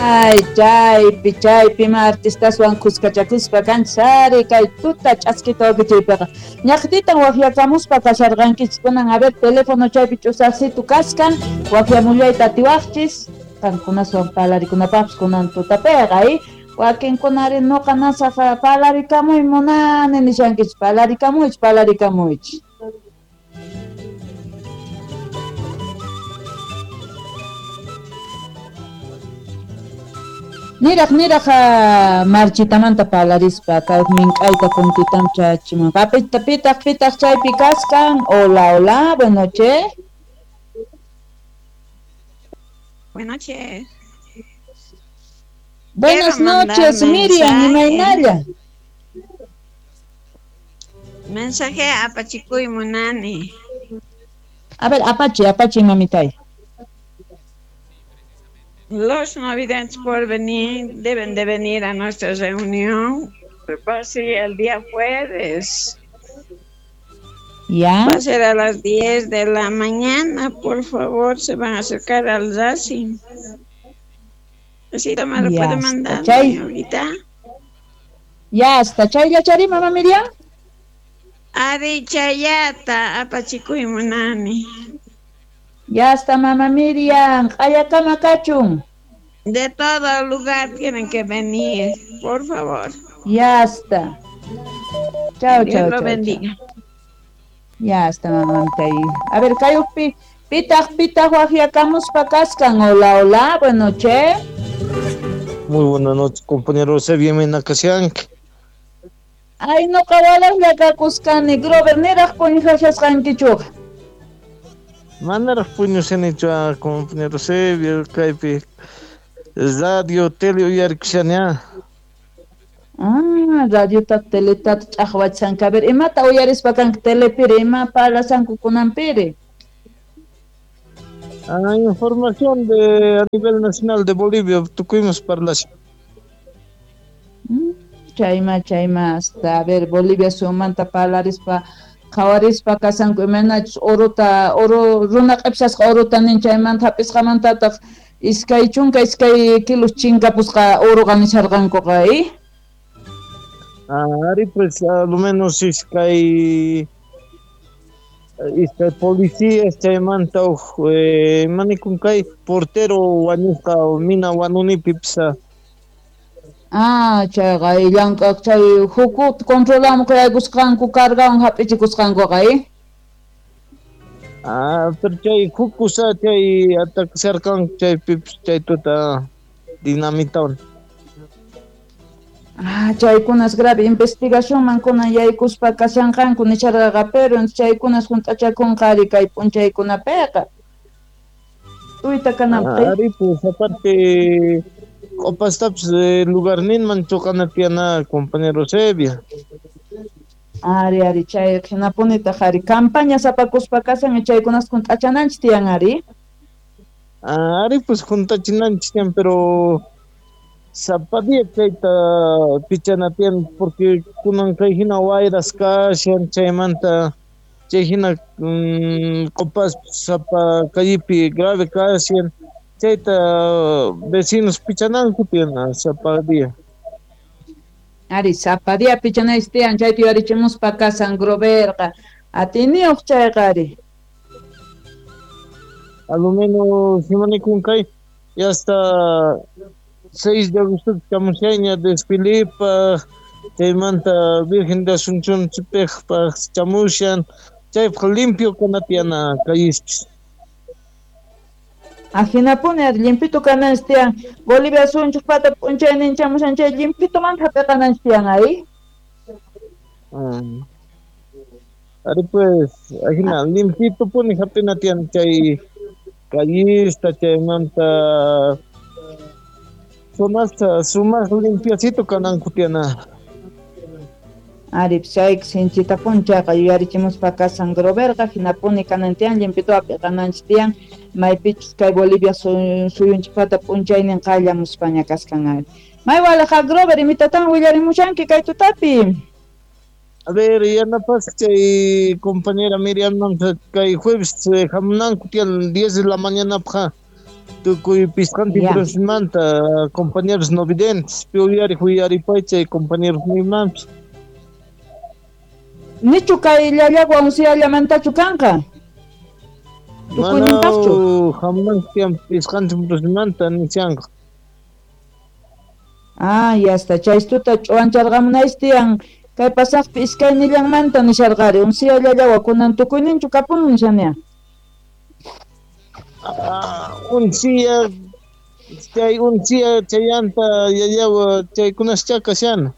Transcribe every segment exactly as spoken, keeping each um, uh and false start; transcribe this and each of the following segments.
Ay, chaypi, chaypi ma artistaswan khuskachakuspa kanchis ari kay tuta ch'askita wakichiypiqa. Ñaqtitan waqyakamuspa kasharqankichis kunan a ver teléfono chaypi ch'usaqsitu kaskan waqyamullayta atiwaqchis qankunaswan palarikunapaqpis kunan tutapiqa y wakinkunari nuqa nasaq palarikamuy munani nishankichis palarikamuychis palarikamuychis. Niraq niraq marchitamanta palarispa kay mink'ayta kuntitam chachimun. Papita pitaq pitaq chaypi kaskan. Hola, hola, buenas noches. Buenas noches. Buenas noches, Miriam, imaynalla. Mensaje apachikuy munani. A ver, apachi, apachi, mamitay. Los no videntes por venir deben de venir a nuestra reunión. Va a ser el día jueves. ¿Ya? Va a ser a las diez de la mañana. Por favor, se van a acercar al Racing. Así me lo puede mandar ahorita. Ya está. Chay yachari, mamá Miriam. Ari chayata, apachikuy munani. Ya está, mamá Miriam. Ayakama kachun. De todo lugar tienen que venir, por favor. Ya está. Chao, chao, lo bendiga. Chao. Ya está, mamá. A ver, kayupi, pitaj, pitaj, wajiakamuspa kaskan. Hola, hola, buenas noches. Muy buenas noches, compañero Eusebio Menacasiank. Ay, no, kawalas llakakuskani, Grover, niraj puñushasqankichuqa. Manaraj puñushanichu, compañero Eusebio, kaypi radio, tele uyarikushani. Ah, radiota, teleta ch'aqwachanka. A ver, imata uyarispa kanki telepiri, ima parlasanku kunanpiri? Ah, información de a nivel nacional de Bolivia, tukuymas parlashan. Mm, chayma, chayma, hasta, a ver, Bolivia sumanta parlarispa, qhawarispa kasanku imaynachus orota, oro, runa q'ipsasqa orota nin chaymanta hap'isqamantataq iskay chunka iskay kilos chinkapusqa oroqa nisharqankuqa, ¿eh? Ah, ari pues a lo menos iskay iskay policías chaymanta uj eh, manikun kay portero wañusqa mina wanunipi pisa. Ah, chayqa llank'aq chay hukut controlamuq yaykusqanku cargawan hap'ichikusqankuqa, ¿eh? Ah, pero chay hukusa chay ataksarqanku chaypipis chay tuta dinamitawan. Ah, chaykunas grave investigacionman kunan yaykuspa kashanqanku nisharqaqa, pero chaykunas hunt'achakunqa ari kay p'unchaykunapiqa. Tuyta kananpi. Ah, ari pues aparte q'upastapis lugarninman chuqana tiyana, compañero Eusebio. Ari, ari, chay hinapunitaq ari campaña sapakuspa kasan chaykunas hunt'achananchis tiyan ari. Ah, ari pues hunt'achinanchis tiyan, pero sapa día chayta pichana tiyan porque kunan kay hina wayras kashan chaymanta chay hina mm, q'upas sapa callepi grave kashan chayta vecinos pichananku tiyan sapa día. Ari, sapa día pichanaychis tiyan chayta yuyarichimuspa kasan Groverqa atiniyuq chayqa ari. A lo menos imanikun kay ya hasta seis de agosto chamushayña desfilepaj chaymanta Virgen de Asunción chipejpaj chamushan chaypaj limpio kana tiyana callespis. Ajinapuni ari limpito kananchis tiyan Bolivia sunchukpata p'unchaynin chamushan chay limpitomanta hap'iqananchis tiyan ari. Mm. Ari pues ajina limpitopuni hap'ina tiyan chay callista chaymanta zonasta sumaq limpiacito kananku tiyana. Ari chay sinchitapuni chayqa yuyarichimuspa kasan Groverqa hinapuni kanan tiyan limpito hap'iqananchis tiyan maypichus kay Bolivia suyunchikpata p'unchaynin qallamuspaña kaskan ari. May walaqa Grover imitatan willarimushanki kay tutapi. A ver, yanapas chay compañera Miriam kay jueves hamunanku tiyan diez de la mañana pja. Tukuy pisqantin provinciasmanta compañeros no videntes, pi uyariq uyaripaychay compañeros nimanpis. Nichu kay Llallagua unsiallamantachu kanqa? Tukuyninpaqchu? Hamunanku tiyan pisqantin provinciasmanta nishanqa. Ah, ya está. Chaystuta ch'uwancharqamunaysi tiyan kay pasaqpi iskaynillanmanta nisharqari unsia Llallagua kunan tukuyninchu kapun nishania. Ah, unsia chay unsia chayanta Llallagua chaykunascha kashan.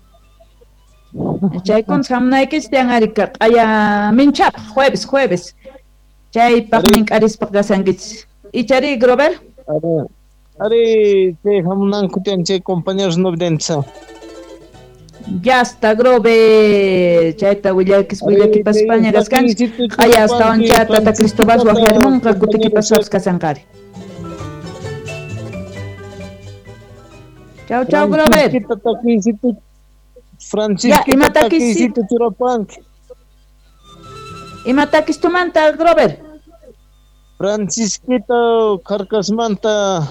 Chaykunas hamunaykichis tiyan ari q'aya minchapaq jueves jueves. Chaypaq mink'arispaq kasankichis. Ichari Grover? Ari, ari chay hamunanku tiyan chay compañeros no videntes. Ya está Grover, chayta willakis willakipaspaña kaskanchis. Q'aya astawan cha tata Cristobal waqyarimunqa kutikipaspapas kasanqari. Chau chau Grover. Francisquita takisito churapanki. Ima takistumanta Grover? Francisquita Carcasmanta.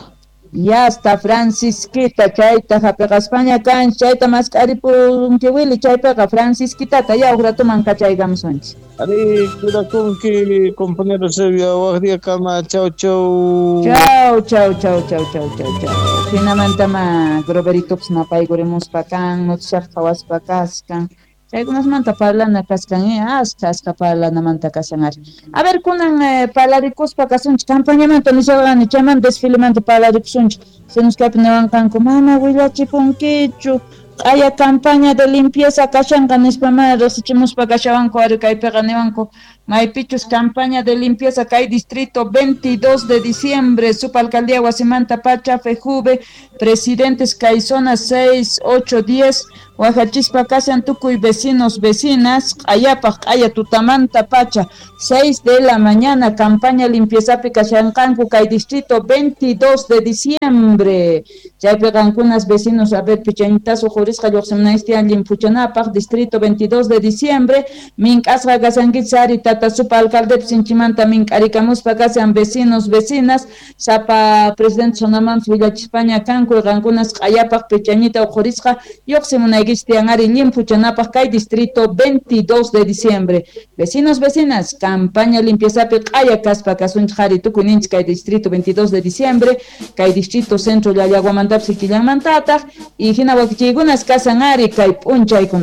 Ya está Francisquita chayta hapiqaspaña kanchis chayta mask'aripunki Willy chaypiqa Francisquitata ya uq ratuman kachaykamusunchis. Ari cuidakunki compañero Sevilla waq día kama chau chau. Chau chau chau chau chau chau chau. Hinamantama Groveritopas napaykurimuspa kan noticiata qhawaspa kaskan. Chaykunasmanta parlana kaskan, eh, askha askha parlanamanta kashan ari. A ver, kunan eh, parlarikuspa kasunchik campañamanta nisharqani chaymanta desfilemanta parlarikusunchik. Sinuskaypi niwanqanku mana willachipunkichu q'aya campaña de limpieza kashanqa nispa mana riqsichimuspa kashawanku ari kaypiqa niwanku maypichus campaña de limpieza kay distrito veintidós de diciembre subalcaldía wasimanta pacha Fejuve presidentes kay zona seis, ocho, diez wajachispa kashan tukuy vecinos vecinas q'ayapaq q'aya tutamanta pacha seis de la mañana campaña limpieza kashanqanku kay distrito veintidós de diciembre chaypi qankunas vecinos a ver pichañitasu jurisqa lluqsimunaysi tiyan llimpuchanapaq distrito veintidós de diciembre mink'asqa kasankichis ari tata supa alcalde sinchimanta mink'arikamuspa kashan vecinos vecinas sapa presidente zonamanpis willachispaña kanku qankunas q'ayapaq pichañita uqhurisqa lluqsimunaykichis tiyan ari llimpuchanapaq kay distrito veintidós de diciembre vecinos vecinas campaña limpieza q'aya kaspa kasunchik ari tukuyninchik kay distrito veintidós de diciembre kay distrito centro Llallaguamantapis killanmantataq y hina wakichiykunas kasan ari kay p'unchaykuna.